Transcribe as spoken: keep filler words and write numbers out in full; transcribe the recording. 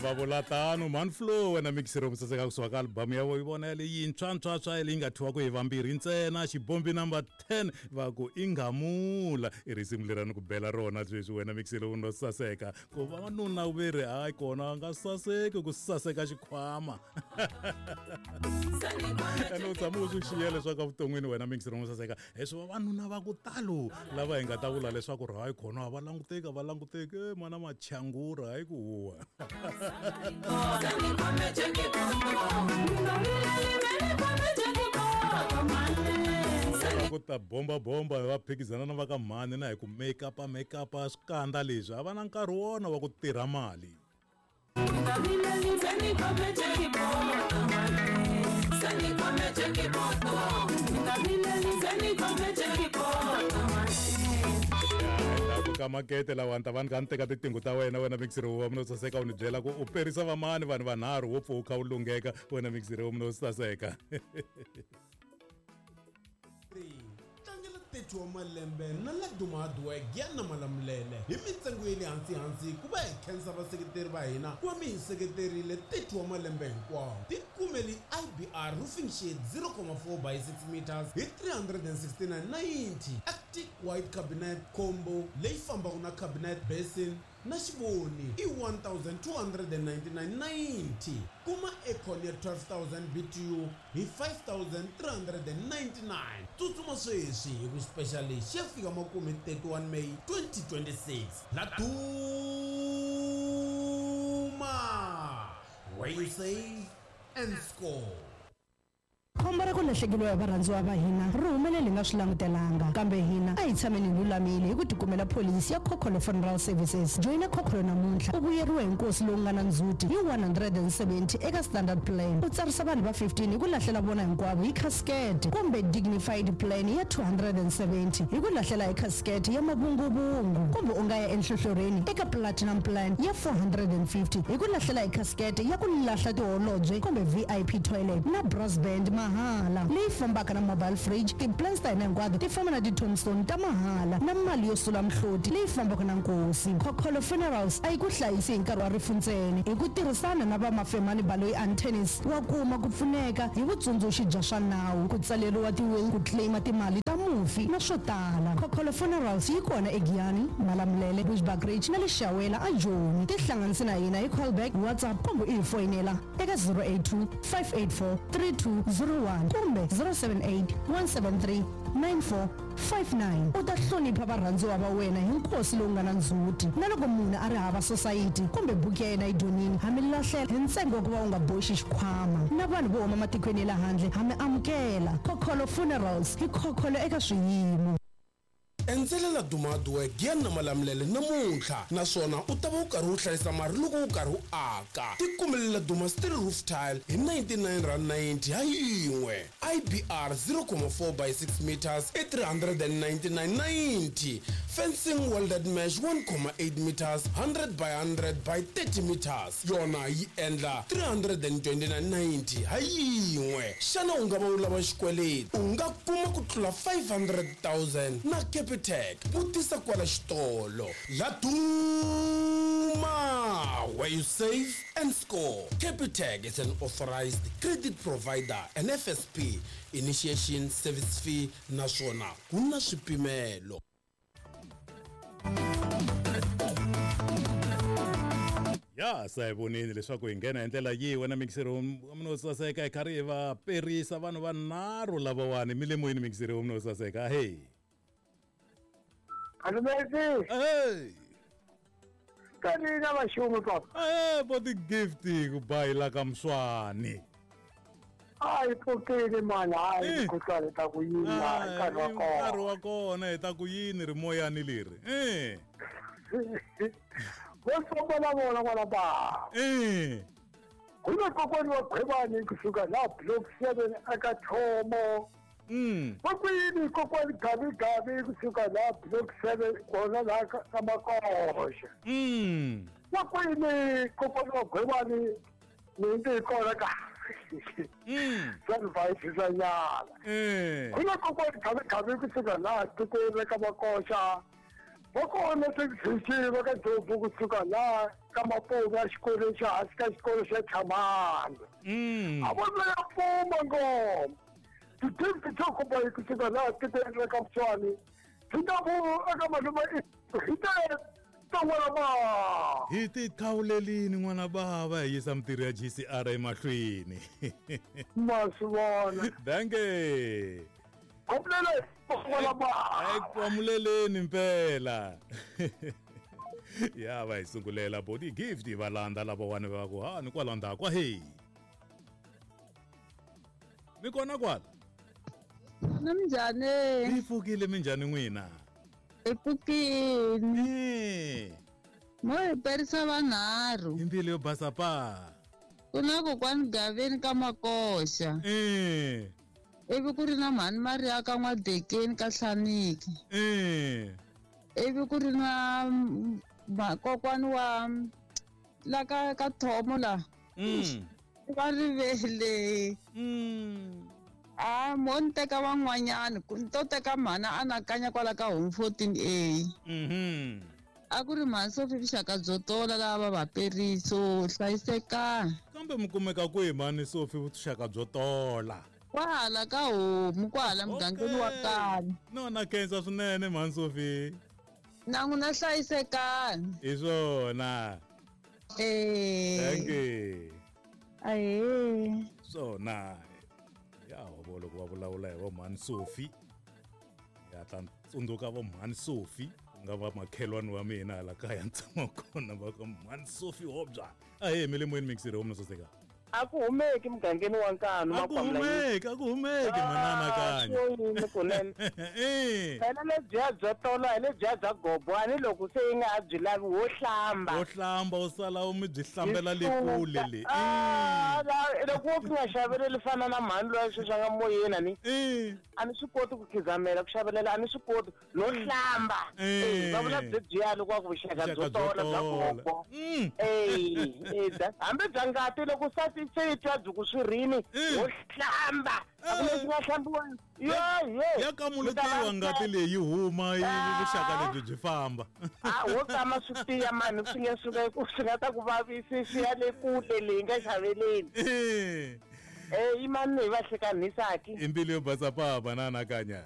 Va vula tano Manflow wena mixero musaseka kusuka ka album ya vo vona leyintshwa ntshwantshwa leyi nga thyiwa ku hi vambirhi ntsena xibombi number ten va ku ingamula i risimu leri ni ku bela rona sweswi wena mixero no saseka ku vavanuna ve ri hayi kona a nga saseki ku saseka xikhwama ene u tshama u swi xiya leswaku evuton'wini wena mixero no saseka leswi vavanuna va ku talo lava hi nga ta vula leswaku ri hayi khona a va languteki a va languteki e mana machangura hayi ku huwa. Ku ta bomba bomba va phikizana na va ka mhani na hi ku make up make up swikandza leswi a va na nkarhi wona wa ku tirha mali. Ka makete lawa ta vanhu ka ni teka titingo ta wena wena mixero wa mina saseka u ni byela ku u perisa vamani vanhu vanharhu wo pfuka u lungheka wena mixero wa mina saseka. Tlangela thirty wa malembe na Laduma Hardware Giyani Malamulele hi mintsengo ya le hansi hansi ku va hi khensa vaseketeri va hina ku va mi hi seketerile thirty wa malembe hinkwawo. Tikumeli I B R roofing sheet zero point four by six meters hi three hundred and sixty-nine ninety. Arctic white cabinet combo leyi fambaka na cabinet basin na xivoni i one thousand two hundred and ninety-nine ninety. Kuma aircon ya twelve thousand B T U hi five thousand three hundred and ninety-nine. Tsutsuma sweswi hi ku special lexi ya fika makume thirty-one May twenty twenty-six. Laduma, where you save and score. Khombo ra ku lahlekeriwa hi varhandziwa va hina ri humelele hi nga swi langutelanga kambe hina a hi tshameni hi lulamile hi ku tikumela pholisi ya Khokholo Funeral Services. Joyina Khokholo namuntlha u vuyeriwa hi nkosi lowu nga na ndzhuti hi one hundred and seventy eka standard plan. U tsarisa vanhu va fifteen hi ku lahlela vona hinkwavo hi casket kumbe dignified plan ya two hundred and seventy hi ku lahlela hi casket ya mavunguvungu kumbe u nga ya enhlohlorheni eka platinum plan ya four hundred and fifty hi ku lahlela hi casket ya ku lahla tiholobye kumbe V I P toilet na brass band mahala leyi fambaka na mobile fridge. Ti-plans ta hina hinkwato ti famba na ti-tombstone ta mahala na mali yo sula mihloti leyi fambaka na nkosi. Khokholo Funerals a yi ku hlayisi hi nkarhi wa rifu ntsena hi ku tirhisana na va Mafemani Baloyi and Tennis wa kuma ku pfuneka hi vutsundzuxi bya swa nawu ku tsaleriwa ti-will ku claima timali ta mufi na swo tala. Khokholo Funerals yi kona eGiyani, Malamulele, Bushbuckridge na le Xawela a Joni. Tihlanganise na hina hi callback, WhatsApp kumbe u hi foyinela eka zero eight two five eight four three two zero one kumbe zero seven eight one seven three nine four five nine. U ta hlonipha varhandziwa va wena hi nkosi lowu nga na ndzhuti na loko munhu a ri hava society kumbe buku ya yena yi dyonini ha mi lahlela hi ntsengo wa ku va u nga boxi xikhwama na vanhu vo huma matikweni ya le handle ha mi amukela. Khokholo Funerals hi khokholo eka swiyimo. Endzela Laduma Hardware Giyani na Malamulele namuntlha naswona u ta va u karhi u hlayisa mali loko u karhi u aka. Tikumele Laduma steel roof tile hi ninety-nine rand ninety ha yin'we. I B R zero point four by six meters i three hundred and ninety-nine ninety. Fencing welded mesh one point eight meters hundred by hundred by thirty meters yona yi endla three hundred and twenty-nine ninety ha yin'we. Xana u nga va u lava xikweleti u nga kuma ku tlula five hundred thousand na Capitec. Vutisa kwala xitolo. Laduma, where you save and score. Capitec is an authorized credit provider and F S P initiation service fee naswona ku na swipimelo. Ya sa hi vonini leswaku hi nghena hi ndlela yihi wena mixero wa mina saseka hi karhi hi va perisa vanhu vanharhu lavawani mi le moyeni mixero wa mina saseka. Hey Alumezi. Hey. Kanina vashumu papa. Eh, body gift ku bayila ka mswani. Hayi pfukile mani, hayi ku ta ku yini nkarhi wa kona. Nkarhi wa kona hi ta ku yini ri moyani leri. Eh. Vo famba na vona kwala ba. Eh. Ku na kokwani wa Khwebani kusuka la block seven aka Thomo. Mm. Va kwini kokwani Gabi Gabi kusuka la block seven kona la ka Makoxa. Mm. Va kwini kokwani wa Khwebani ni ndzi kona ka. Mm. Swa va nyana. Eh. Ku na kokwani Gabi Gabi kusuka la tikweni ka Makoxa. Va kona sexi va ka Jobu kusuka la ka Mapoma xikolo xa hansi ka xikolo xa Chamani. Mm. A va ya puma ngoma. Titimbi to kuba kusuka la tikweni ra ka Mtswani. Hi ta ku eka malume hi ta ton'wana ba. Hi ti khawulelini n'wana bava hi yisa mitirho ya G C R emahlweni. Ma swi vona. Danke. Komplela n'wana ba. Ekwamuleleni mpela. Ya va hi sungulela body gift va landza lava wani va ku ha ni kwala ndzhaku hey. Mi kona kwala? Na minjhani? Hi pfukile minjhani n'wina? Hi pfukile. Eh. Mo hi perisa vanharhu. Hi mbilu yo basa pa. Ku na kokwani Gaveni ka Makoxa. Eh. Ivi ku ri na mhani Maria ka N'wadekeni ka Hlaniki. Eh. Ivi ku ri na kokwani wa la ka ka Thomo la. Mm. Va rivele. Mm. Ah, mo ni teka van'wanyani ku ni to teka mhana anakanya kwala ka home fourteen A. Mhm. A ku ri mhani Sophie vuxaka byo tola lava va vaperiso hlayisekani. Kambe mi kumeka kwihi mhani Sophie vuxaka byo tola? Kwahala ka homu kwahala mugangeni wa kaya. No na khensa swinene mhani Sophie. Na n'wina hlayisekani. Hi swona. Eh. Thank you. Ahee. Swona. Ya vo loko va vulavula hi vo mhani Sophie. Ya ta tsundzuka vo mhani Sophie ku nga va makhelwani wa mina hala kaya ni tshama kona va ka mhani Sophie Hobya. Ahee mi le moyeni mixiri homu soseka. A ku humeki mugangeni wa Nkanu A ku humeki, a ku humeki manana kanya. Yini kunene. Eh. Phela lebyiya byo tola hi lebyiya bya gobo a ni loko se yi nga ha byi lavi wo hlamba. Wo hlamba u sala u mi byi hlambela le kule le. Ah, loko wo nga xaveleli fana na mhani loyi sweswi a nga moyeni a ni. Eh. A ni swi koti ku khizamela ku xavelela a ni swi koti no hlamba. Eh. Va vula byi loko wa ku vuxaka byo tola bya gobo. Mm. Eh, eh, hambi bya ngati loko sati se yi twa byi ku swirini wo hlamba a ku lexi nga hlambiwa yo yo ya kamuletiwa ngati leyi yi huma yi vuxaka lebyi byi famba. A wo tama swi tiya mani swi nge suka ku swi nga ta ku vavisi swi ya le kule leyi nga xaveleni. Eh. Eh, i mani hi va hlekanhisaki. I mbilu yo basa pa banana kanya.